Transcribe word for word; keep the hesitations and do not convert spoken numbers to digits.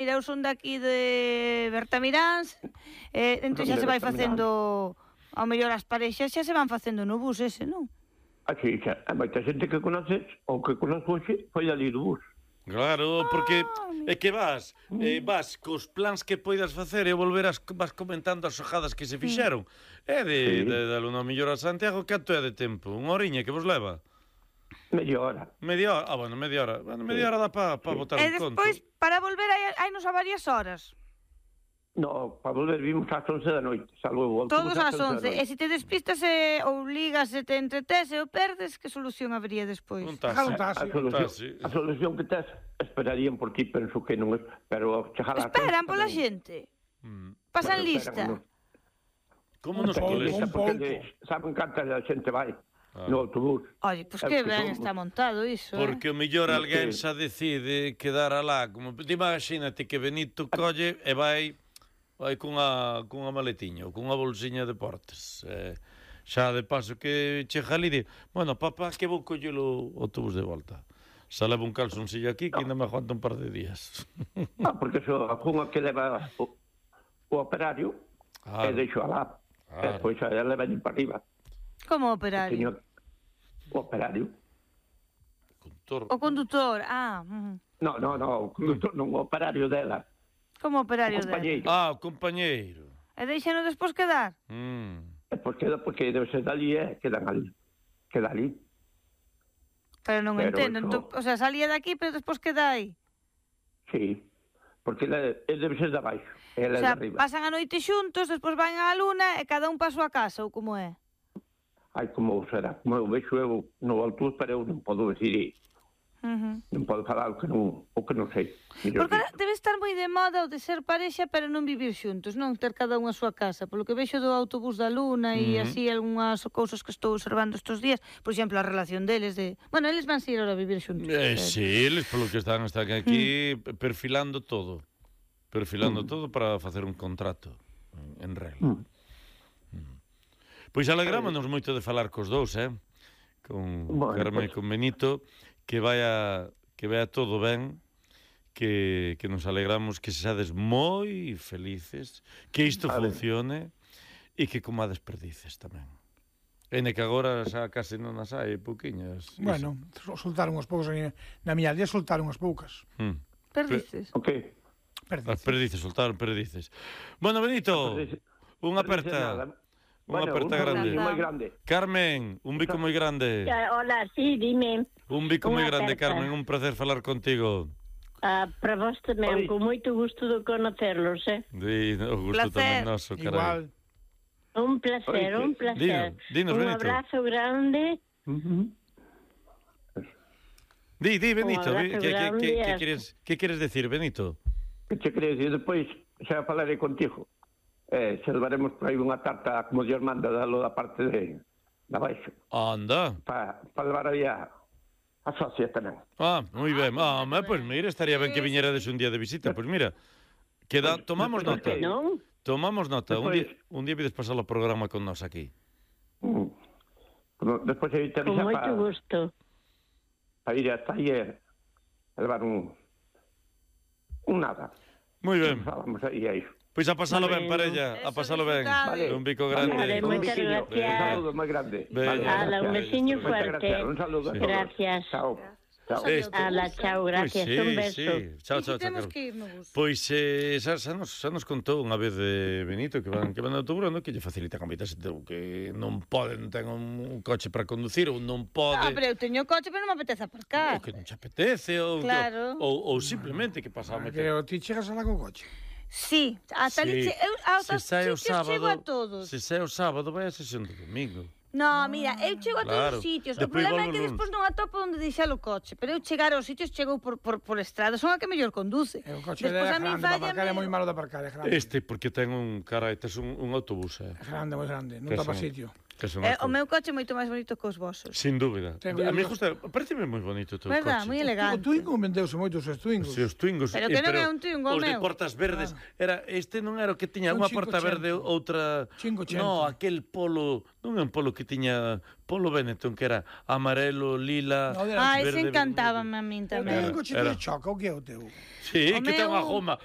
Mira, eu son daqui de Bertamiráns, eh, entón xa se vai facendo, ao mellor as parexas xa se van facendo no bus ese, non? Así, xa, hai moita xente que conoces, ou que conoces hoxe, foi ali do bus. Claro, porque é que vas, eh, vas cos plans que poidas facer e volverás, vas comentando as xojadas que se fixeron. É de, sí. de, de, de Luna Millor a Santiago, canto é de tempo? Unha horiña que vos leva? Media hora. Media hora? Ah, bueno, media hora. Bueno, media hora dá para pa botar E un conto. despois, para volver, hai, hai nos a varias horas. No, para volver vimos ás once da noite, salvo o autobús. Todos ás once. E se te despistas e, ou ligas e te entretes e o perdes, que solución habría despois? Un taxi. Un taxi. A solución, taxi. a solución que tes, esperarían por ti, penso que non é, pero chegar a... Esperan pola xente. Mm. Pasan lista. Como nos pouco, coles? un Porque saben canta a xente vai no autobús. Oye, pois que ben está montado iso, Porque o mellor alguén xa decide quedar alá, como te imagínate que Benito colle e vai vai cunha cunha maletiña ou cunha bolsiña de deportes. Eh, xa de paso que chega ali di, bueno, papá, que vou coller o autobús de volta. Xa leva un calzoncillo aquí que ainda me aguanta un par de días. Ah, porque so, a cunha que leva o, o operario Claro. e deixo alá. Claro. E depois a ela leva para arriba. Como operario? Teño o operario. Contor. O condutor, ah. Uh -huh. No, no, no, o condutor non, o operario dela. Como operario O dela? compañeiro. Ah, o compañeiro. E deixano despois quedar? Mm. E porque, porque debe ser dali e quedan ali. Queda ali. Pero non Pero entendo. eso- Entón, o sea, salía de aquí, pero despois queda aí. Sí. Porque ele, ele debe ser de abaixo. Ela O é sea, de arriba. pasan a noite xuntos, despois van á luna e cada un pa a súa casa, ou como é? Ai, como será. Como eu vexo eu no autobús, pero eu non podo decir, Uh -huh. non podo falar o que non, o que non sei. Mellor Porque ahora dito. debe estar moi de moda o de ser parexa, pero non vivir xuntos, non ter cada un a súa casa. Polo que vexo do autobús da luna e Mm. así algunhas cousas que estou observando estes días, por exemplo, a relación deles de... Bueno, eles van ir ahora a vivir xuntos. Eh, sí, eles polo que están, están aquí perfilando todo. Perfilando todo para facer un contrato en, en regla. Mm. Pois alegrámonos moito de falar cos dous, eh? Con Bueno, Carmen e pues- con Benito, que vaya que vaya todo ben, que, que nos alegramos que sexades moi felices, que isto Vale. funcione e que comades perdices tamén. Ene que agora xa case non as hai, pouquiñas. Bueno, soltaron unhas poucas na miña aldea, soltaron unhas poucas. Mm. Perdices? Ok. Perdices. As perdices, soltaron perdices. Bueno, Benito, Perdices- unha perdices aperta. nada. Unha Bueno, aperta un grande. saludo moi grande. Carmen, un bico moi grande. Ya, hola, sí, dime. Un bico moi Unha grande, aperta. Carmen, un placer falar contigo. Ah, para vos tamén, Oi. con moito gusto de conocerlos, eh? Di, o gusto Placer. tamén noso, carai. Igual. Un placer, Oi, un placer. Dinos, dinos, un Benito. abrazo grande. Di, di, Benito, Un di, abrazo que, que, grande que, que, e- queres, que queres decir, Benito? Que che crees? E depois xa falarei contigo. Eh, se levaremos por aí unha tarta, como Dios manda, dalo da parte de, de abaixo. Anda. Para pa levar aí a, a socia tamén. Ah, moi ben. Ah, ma, pues mira, estaría ben que viñerades un día de visita. Pues mira, queda, tomamos Despois nota. que Non? Tomamos nota. Un Despois- día, un día vides pasar o programa con nós aquí. Mm. Como despois aí te Con avisa moito para gusto. pa ir hasta aí e levar un un nada. Moi ben. Vamos aí a iso. Pois a pasalo ben, Bueno. parella, a Eso, pasalo ben. disfrutade. Un bico Vale, grande. moitas Un biquiño, gracias. Un saludo moi grande. Veña. Ala, un veciño Moitas fuerte. gracias. Un saludo a Sí. todos. Gracias. Chao. Chao. Este. Ala, chao, gracias. Pois sí, un beso. sí. Chao, chao, chao. Temos Carmen. que ir no bus. Pois eh, xa, xa, nos, xa nos contou unha vez de Benito que van que van de autobús, non? Que lle facilita a moita xente que non pode, non ten un, un coche para conducir ou non pode. Ah, pero eu teño coche, pero non me apetece aparcar. Ou que non te apetece ou, Claro. ou, ou simplemente que pasa a meter. Pero ti chegas alá co coche. Sí, ata ali, Sí. che- eu ata Se sae o sitios chego a sábado, todos. se sae o sábado vai a sesión do domingo. No, mira, eu chego a Claro. todos os sitios. O Despois problema é volve que o luns. despois non atopo onde deixar o coche. Pero eu chegar aos sitios chego por, por, por estrada. Son a que mellor conduce. E o coche Despois é a min grande, para aparcar é fállame- moi malo de aparcar, é grande. Este porque ten un carai, tes un, un autobús, eh. É grande, moi grande, non Que tapa son- sitio. Que son Eh, as o cousas. meu coche é moito máis bonito que os vosos. Sin dúbida. Tengo A mí eu- gusta, pareceme moi bonito o teu Verdad, coche. moi O elegante. Twingo vendeuse moitos os Twingos. Si, os Twingos. Pero eh, que non é un Twingo, os de meu. portas verdes. Era, este non era o que tiña Un unha porta verde, cincocentos. outra... cincocentos. No, aquel polo... Non é un polo que tiña... Polo Benetton, que era amarelo, lila... No, de- Ah, ese verde, encantábame vermello. a min O que é un tamén. coche Era. de choca, o que é o teu? Sí, O que ten unha meu- goma.